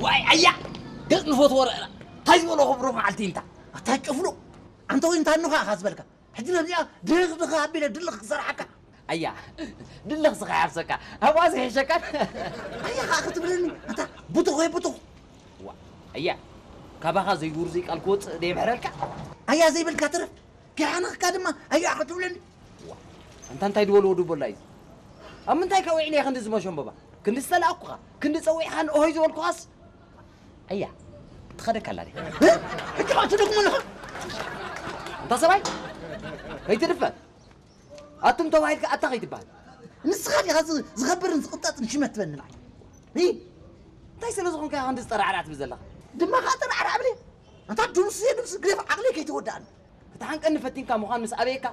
ዋይ ኣያ፣ ገጽ ንፈትዎ ረእና። እንታይ ዝበሎ ክብሩ መዓልቲ እንታ? ኣታ ጭፍሉ፣ ኣንተ ወይ እንታ ንኻ ኢኻ ዝበልካ? ሕጂ ነዚኣ ድኽ ድኽ ኣቢለ ድልኽ ክሰርሓካ። ኣያ፣ ድልኽ ስኻ ይሓፍሰካ፣ ኣብኣ ዘይሕሸካን። ኣያ ኸኣ ክትብለኒ፣ ኣታ ቡቱኽ ወይ ቡቱኽ። ዋ፣ ኣያ፣ ካባኻ ዘይውርዙይ ቃል ክወጽእ ደየምሕረልካ? ኣያ ዘይበልካ ትረፍ፣ ከይሓነኽካ ድማ ኣያ ክትብለኒ። ዋ፣ ኣንታ እንታይ ድበልዎ ድቦላ እዩ? ኣብ ምንታይ ከዊዕኒ እየ ክንዲ ዝመሸምበባ? ክንዲ ዝተላእኩኻ፣ ክንዲ ጸዊዕኻኒ ኦሆይ ዝበልኩኻስ? ኣያ፣ ትኸደካ ኣላ ድያ? እ? ሕጂ ኸኣ ትደግሞ ኣለኻ? ኣንታ ሰብኣይ፣ ከይትድፈር። ኣቱም ተባሂልካ ኣታ ከይትበሃል። ንስኻ ዲኻ ዝ-፣ ዝኸብርን ዝቕንጠጥን ሽመት ትበኒ ንዓይ? እ? እንታይ ስለ ዝኾንካ ኢኻ ክንዲ ዝጠራዕራዕ ትብል ዘለኻ? ድማ ኸኣ ጠራዕራዕ ብለይ። ኣንታ ድምሱ እየ ድምሱ ግደፍ ዓቕለይ ከይተወድኣኒ። ክትሓንቀኒ ፈቲንካ ምዃን ምስ ኣበየካ፣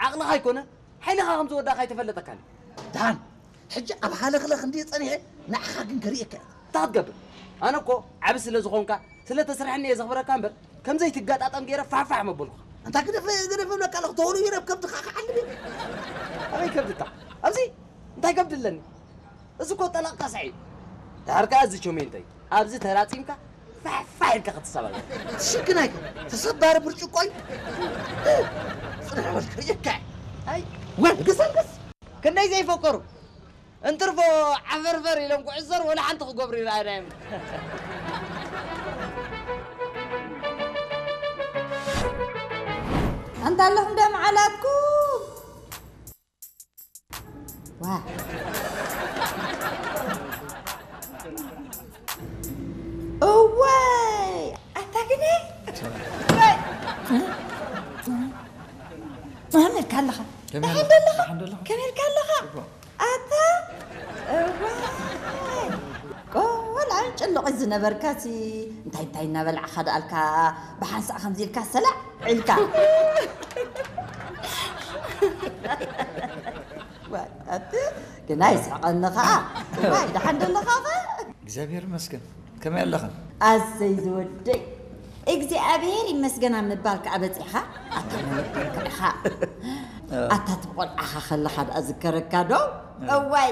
ዓቕልኻ ኣይኮነ፣ ሓይልኻ ከም ዝወዳእካ ኣይተፈለጠካን እዩ። ደሓን፣ ሕጂ ኣብ ሃለኽለኽ እንድየ ጸኒሐ፣ ንዓኻ ግን ከርእየካ እየ። እንታይ ክትገብር? ኣነ እኮ ዓቢ ስለ ዝኾንካ፣ ስለ ተስርሐኒ እየ ዘኽብረካ እምበር፣ ከም ዘይትገጣጠም ገይረ ፋሕፋሕ መበልኩኻ። ኣንታ ግደፍ፣ ግደፍ እብለካ ኣለኹ፣ ተወሉ ይረብ ከብድኻ ክዓልብ እየ። ኣበይ ከብድታ? ኣብዚ? እንታይ ከብዲ ኣለኒ? እዚ እኮ ጠላቕ ካስዐ እዩ። ድሓር ከኣ እዚ ቸሜንተይ፣ ኣብዚ ተራጺምካ ፋሕፋሕ ኢልካ ክትሰባበር። ሽግናይ ተሰባሪ ብርጭቆ እዩ። ጽንሕ በል ክርእየካ እየ። ኣይ፣ ወል ግሰልግስ። ክንደይ ዘይፈከሩ። እንትርፎ ዓፈርፈር ኢሎም ክዕዘር ወላ ሓንቲ ክገብሩ ይረኣየና እዮም። ኣንታ ኣለኹም ዶ መዓላትኩም? ዋ። እዋይ! ኣታ ግነ? እዋይ! መን ኢልካ ኣለኻ? ከመይ ደሓን ኣለኻ? ደለኻ? ደሓን ደለኻ? ከመይ ኢልካ ኣለኻ? ጽቡቕ። ኣታ! እዋይ! ቆልዓ ጭልቕ ዝነበርካሲ እንታይ እንታይ እናበላዕኻ ደኣልካ ብሓንሳእ ከምዚ ኢልካ ሰላዕ ኢልካ? ዋይ፣ ኣቲ ግና ይስሕቐኒ ኸዓ። ዋይ፣ ደሓን ደለኻ ኸ? እግዚኣብሔር ይመስገን። ከመይ ኣለኽን? ኣሰይ ዝወደይ፣ እግዚኣብሔር ይመስገን ኣብ ምባል ከኣ በጺሕኻ። ኣታ መለኮልካ ኢኻ። ኣታ እቲ ብቖልዓኻ ከለኻ ደኣ ዝከረካ ዶ? እዋይ፣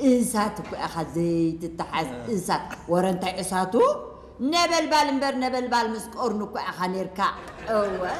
እሳት እኮ ኢኻ ዘይትተሓዝ እሳት። ወረ እንታይ እሳቱ? ነበልባል እምበር ነበልባል ምስ ቀርኑ እኮ ኢኻ ኔርካ። እዋይ።